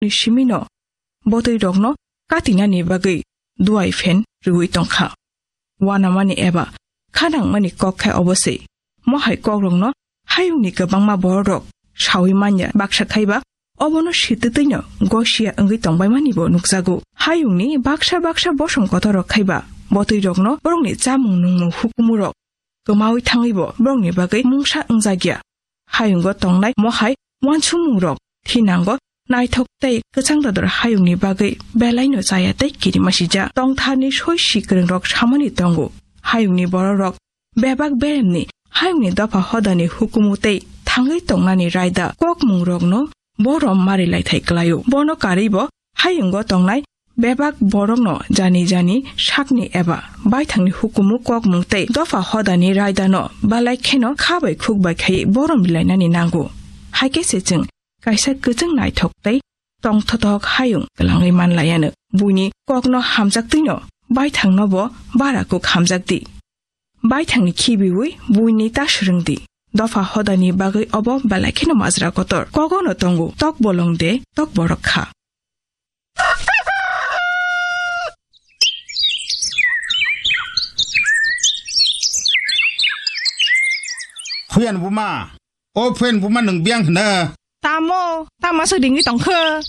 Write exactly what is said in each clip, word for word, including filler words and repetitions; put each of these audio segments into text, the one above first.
ni simi no botwi rok no katinani bagwi duai phen rwui tongkha. Wanamani eba khanangmani kok khe obo se. Mohai kokrokno hayungni kwbangma bororok saui manya baksa khaiba obono sitwtwino gosia wngwi tongbaimani bo nukjago. Hayungni baksa baksa bosong kotorrok khaiba botwirokno borokni chamung nungmung hukumurok kwmaui thangwibo borokni bagwi mungsa wngjakya. Hayungo tongnai mohai uansukmungrok thinango naithok tei kwchang dodor hayungni bagwi belaino chaya tei kirimasija. Tongtharni soi sikwrwngrok samani tongo. Hayungni bororok bebak beremni hayungni dopha hodani hukumu tei thangwi tongnani raida kokmungrokno borom mari laithai kwlaio. Bono karwibo hayungo tongnai bebak borokno jani jani sakni eba baithangni hukumu kokmung tei dopha hodani raidano balai kheno kha bai khuk bai khai borom bilainani nango. Hai khe se chwng kaisa kwchwng naithok tei tongthothok hayung kwlangwi manlaiano. Buini kokno hamjaktwino baithangno bo bara kuk hamjakdi. Baithangni khibiwi buini ta swrwngdi. Dopha hodani bagwi obo belai kheno majra kotor. Kogono tongo tok bolong de tok borok kha. Huyan buma, o phen buma nwng biyang hwna? Tamo, tamo se ringwi tongkha.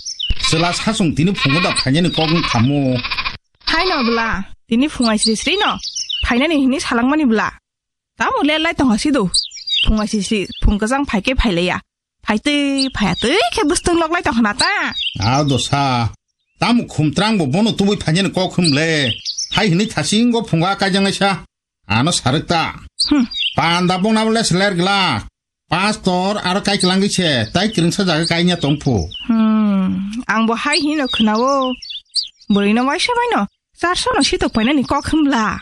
Chwla sasung tini phungo da phainani kok wng khamu. Haino bwla, tini phungai sri sri no phainani hini salangmani bwla. Tamo le lai tongha sido. Phungai sri sri, phung kwchang phaike phaileya. Phaitwi phaya twi khe bwstwng lok lai tongkhna ta. Aw dosa. Tamo khumtrang bo bono tubui phainani kok hwnle. Hai hini thasing go phunga kaijaknaisa. Ano sarwk ta. Hmm. Panda bongna bole seler glak. Pastor aro kai kwlangwi se, tai kwrwngsa jaga kainya tongphu. Hmm. Ang bo hai hino khwnao. Bwrwino waisa baino. Charso no sitok painani kok hwnbla.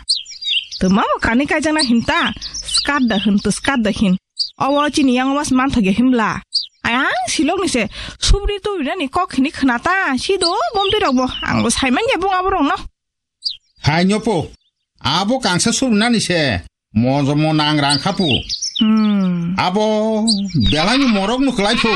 Twma bo kani kaijakna hinta. Skat da hwn to skat da hin. Owo chini yango mas manthok ya hwnbla. Ayang silok ni se. Subri tu rinani kok hini khwnata. Sido bomti rok bo. Ang bo saiman ya bung abo rok no. Hai nyopo. Abo kangsa subrinani se. Mojomo nang rang khapu. Hmm. Abo belai ni morok no kwlai phu.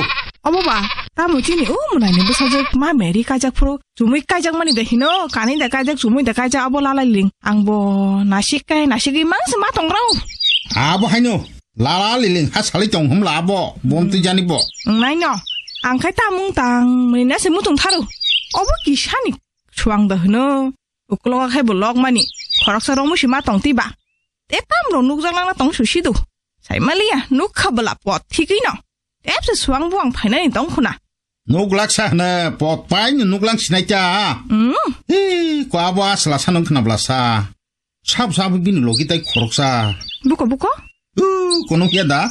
Obo ba, tamo chini o munai ni bwsajwk ma meri kaijak phuru. Chumui kaijak mani de hino, kani de kaijak, chumui de kaijak, abo lalai ling. Ang bo nasik kai, nasik imang se ma tong rau. Abo haino, lala liling ha salai tong hum la abo, bom twi jani bo. Ang nai no, ang khai tamung tang, mani na se mutung tharu. Obo kisani suang da hino. Uklogo khai bo lok mani, khoroksa romu si ma tong twi ba. Te tam rok nukjak lang na tong su sidu. Sai maliya, nuk kha bwla pot thigwi no. Tep se suang buang phainani tong khuna. Nuk lak sa hwna, pot pai no nuk lang sinai ta. Hmm. Hi, ko abo asla sa nung khna bwla sa. Sab sab bini logi tai khoroksa. Buko, buko? Uh, kono hiya da?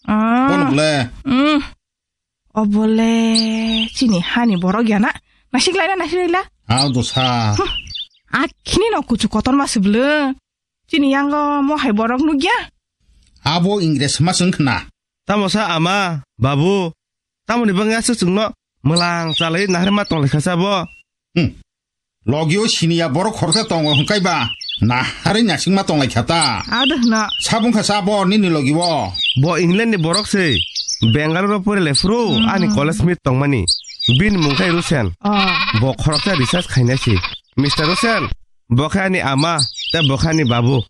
Ah. Kono bwle? Hmm. Obole chini hani borok ya na. Nasik lai na, nasik lai la. Aw dosa. Hmm. Akhini no kuchu kotor ma se bwle. Chini yango mo hai borok nukya? Abo Ingres ma swng khna. Tamo sa ama, babu, tamoni bangya se chwngno mwlang chalai naharma tonglaikha sa bo? Hmm. Logio siniya borok khoroksa tongo hwnkaiba naharwi nasingma tonglaikha ta. Ado hwna. Sabung kha sa bo nini logio. Bo England ni borok se. Bangalore o pori le phuru Hmm. ani college mate tongmani. Bini mung khai Rusen. Oh. Bo khoroksa research khainai se. Mister Rusen, bo khe ani ama, tei bo khe ani babu.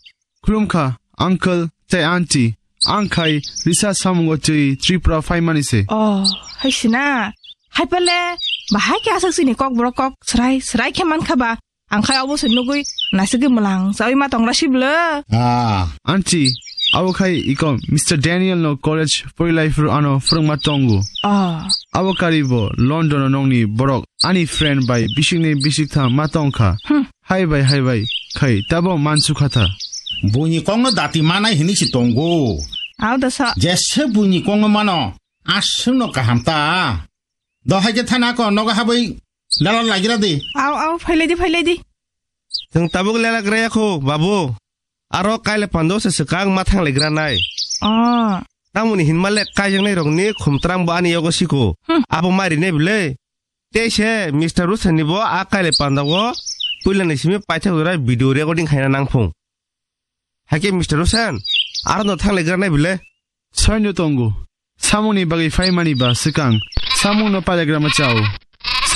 Khulumkha, uncle tei aunty. Ang khai research samungo twi Tripura phaimani se. Oh, hai sina. Hai pale, bahai khe aswk chini kok borok kok srai srai khe mankha ba. Ang khai obo se nugui nasigwi mwlang chawi ma tongra siblo. Ah. Aunty, abo khai iko Mister Daniel no college porilai phuru ano phwrwngma tongo. Oh. Abo kari bo London o nongni borok ani friend bai bisikni bisiktham ma tongkha. Hmm. Hai bai, hai bai, khai tabo mansukha tha. Buini kongno dati manai hini si tongo. Au da sa. Jese buini kongno mano, aswkno kaham ta. Do hai khe thana ko nogo habwi lala lagira di. Au, au, phailai di, phailai di. Chwng tabuk lala graya kho, babu. Aro kaile pando se swkang ma thang legra nai. Oh. Tamoni hinma le kaijaknai rokni khumtrang bo ani yogo siko. Hmm. Abo ma rinai bwle. Tei se Mister Rusen ni bo a kaile panda o puila ni simi paithak jora video recording khaina nangphung. Haikhe Mister Rusen, aro no thang legra nai bwle. Soino tongo. Samungni bagwi phaimani ba swkang samungno pailagrama chao.